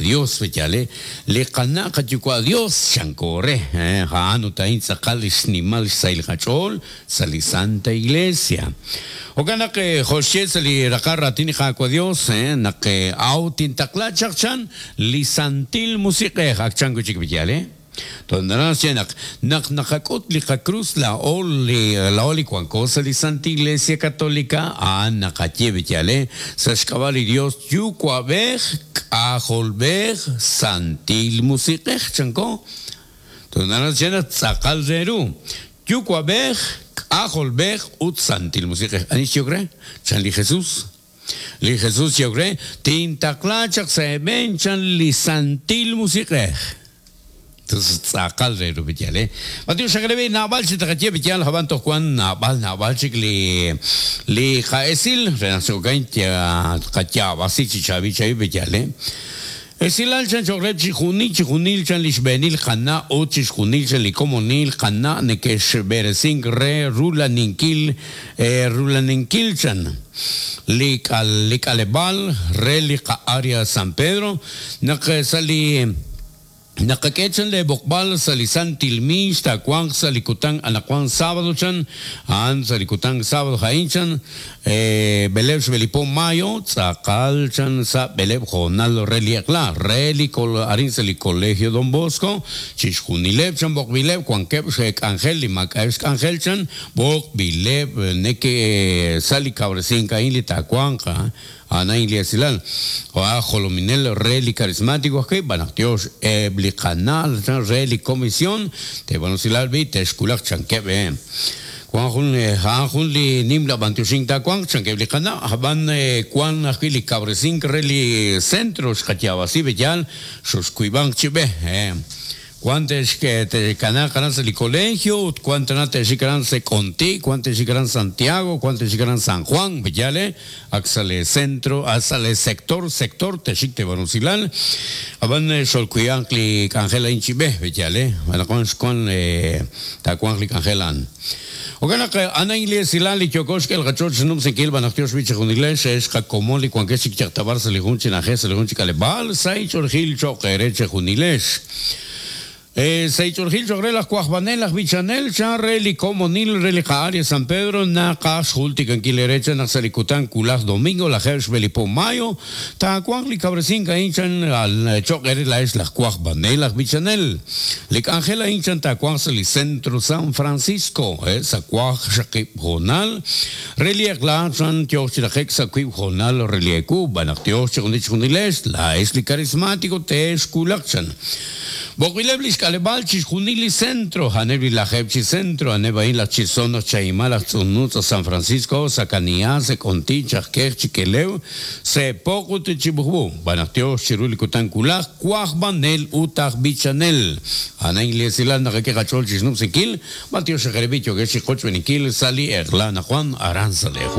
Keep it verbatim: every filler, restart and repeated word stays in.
Dios b'yale li qana' qayuwa' Dios chanko re a'an ut a'in tz'aqal li xnimal xsahil qach'ool sa' li Santa Iglesia. Jo'kan naq jo'xye sa' li raqal raatin li Qaawa' Dios naq aw tintaqla chaq chan li Santil Musiq'ej ak chan wi' chik b'yale. Tondarás naq naq naqak'ut li qakrus laa'o li laa'o li wanko sa' li Santa Iglesia Católica a'an naqaye b'yale sa' xk'ab'a' li Dios Yuwa'b'ej K'ajolb'ej Santil Musiq'ej chanko. Tondarás naq tz'aqal re ru Yuwa'b'ej K'ajolb'ej ut Santil Musiq'ej. Ani xyok re? Chan li Jesús. Li Jesús xyok re tintaqla chaq sa' eeb'en chan li Santil Musiq'ej. Entonces tz'aqal re ru b'yale. Mateo xaqrebi nab'al chi taqaye b'yal haban tojuan nab'al nab'al chik li li qa'esil re naq xokain ya qatyab'asi chi chabi chabi b'yale. Esilal chan choqreb chi junil chi junil chan li xb'eenil qana' ut chi xjunil chan li komonil qana' neke'xb'eresink re rulaninkil rulaninkil chan li k'al li k'aleb'al re li qa'área San Pedro naq sa' li naqak'e chan le b'oqb'al sa' li Santil Mix taawanq sa' li kutan anaqwan sábado chan a'an sa' li kutan sábado ja'in chan b'eleb' xb'elipo mayo tz'aqal chan sa' b'eleb' jonal re li eq'la re li arin sa' li Colegio Don Bosco chi xjunileb' chan b'oqb'ileb' wankeb' xk'anjel li maak'a'eb' xk'anjel chan b'oqb'ileb' neke sa' li kawresink a'in li taawanq ana Iglesia o jolominel re li carismático ajwi' b'anaq tiox eb' li qanal chan re li comisión te b'anusilal b'i texkulaq chankeb' eh Juan jun a'an jun li nim la b'antioxink taawanq chankeb' li qana' hab'an wan ajwi' li kawresink re li centro xqatyab'asi b'eyal xoxkuib'anq chi b'e Cuán te te kana sa li colegio, cuán te xikaran se Conti, cuán te xikaran Santiago, cuán te xikaran San Juan, b'yale, ak sa' le centro, sa' le sector, sector te xik te banusilal, aban xolkuyanq li k'anjel a'in chi b'e, b'yale, anaqwan xkuan taawanq li k'anjel a'an. Jo'kan naq ana Iglesia li yokox k'el qachoch xnumsinkil b'anaq tiox b'i chi junilex ex qakomon li wankex chik chaqtabar sa' li jun chi na'ajej sa' li jun chi k'aleb'aal sa' ich'orjil cho'q eere chi junilex. Seich'orjil cho'q re laj Kuajbanel laj Bichanel chan re li komonil re li qa'área San Pedro naqaj xjultikankil ere chan naq sa' li kutan kulaj domingo lajeb' xb'elipo mayo taawanq li kawresink a'in chan al cho'q ere la'ex laj Kuajbanel laj Bichanel li k'anjel a'in chan taawanq sa' li Centro San Francisco sa' kuaj xaqib' jonal re li eq'la chan tiox chi raqek sa' kuib' jonal re li eku b'anaq tiox chi junil chi junilex la'ex li carismático texkulaq chan B'oqb'ileb' li xk'aleb'aal chi xjunil li centro, a'aneb' li lajeb' chi centro, a'aneb' a'in laj Chisono, Chaima, laj Tz'unutz, San Francisco, Sakaniá, Sekonti, Chajkej, Chikelew, Sepoq ut Chibujb'u. B'anaq tiox chiru li kutan kulaj, Kuajbanel ut aj Bichanel. Ana Iglesia naqak'e qach'ool chi xnumsinkil, b'antiox xaqereb'i yokex chi qochb'eninkil sa' li eq'la naqwan aran sa' le